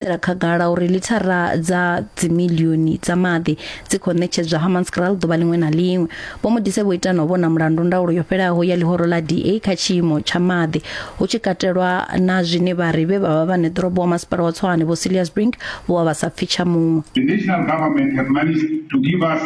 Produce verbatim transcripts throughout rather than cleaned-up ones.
Khagala uri lithara dza dzimiḽioni dza maḓi dzi khou ṋetshedzwa Hammanskraal ḓuvha ḽiṅwe na ḽiṅwe. Vho Modise vho ita na u vhona mulandu ndaulo yo fhelaho ya ḽihoro ḽa D A kha tshiimo tsha maḓi hu tshi katelwa na zwine vha ri vhe vha vha vha ṋeḓorobo wa masipala wa Tshwane Vho Cilliers Brink vho vha vha sa pfi tsha muṅwe. The national government have managed to give us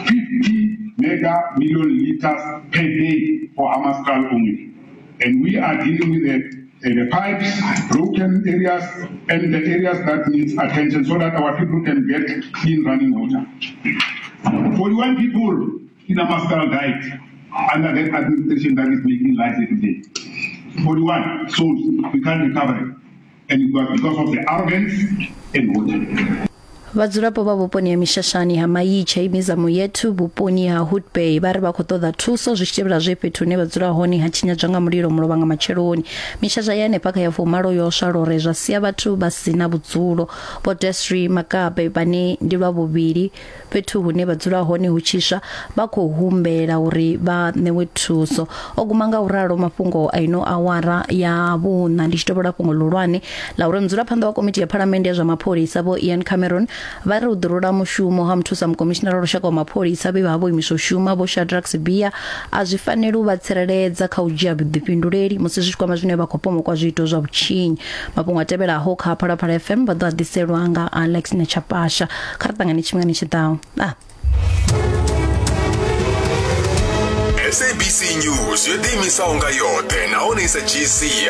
fifty mega million liters per day for Hammanskraal only. And we are dealing with the the pipes, broken areas, and the areas that needs attention so that our people can get clean running water. forty-one people in Hammanskraal died under that administration that is making lies every day. forty-one souls, we can't recover it. And it was because of the arrogance and water. Vhadzulapo vha vhuponi ha Mishashani ha Maitshe Mizamo Yethu vhuponi ha Hood Bay vha ri vha khou ṱoḓa thuso zwi tshi tevhela zwe fhethu hune vha dzula hone ha tshinyadzwa nga mulilo mulovha nga matsheloni. Mishasha ya hanefha kha ya fumalo yo swa lore zwa sia vhathu vha si na vhudzulo. Vho Desri Makabe vhane ndi lwa vhuvhili fhethu hune vha dzula hone hu tshiswa vha khou humbela uri vha ṋewe thuso. O guma nga u ralo mafhungo a ino awara ya vhuṋa. Ndi tshi tovhola fhungo ḽihulwane ḽa uri mudzulaphanḓa wa komiti ya phalamennde ya zwa mapholisa Vho Ian Cameron vha ri u ḓirula mushumo ha muthusa mukomishinara wa lushaka wa mapholisa vhe vha vho imiswa u shuma Vho Shadrack Sibiya a zwi faneli u vha tsireledza kha u dzhia vhuḓifhinduleli musi zwi tshi kwama zwine vha khou pomokwa zwiito zwa vhutshinyi. Mafhungo a tevhelaho kha Phalaphala F M vha ḓo a ḓiselwa nga Alex Nechapasha. Kha ri ṱangane tshifhingani tshi ḓaho. Ah. S A B C News yo ḓiimisaho nga yoṱhe nahone i sa dzhii sia.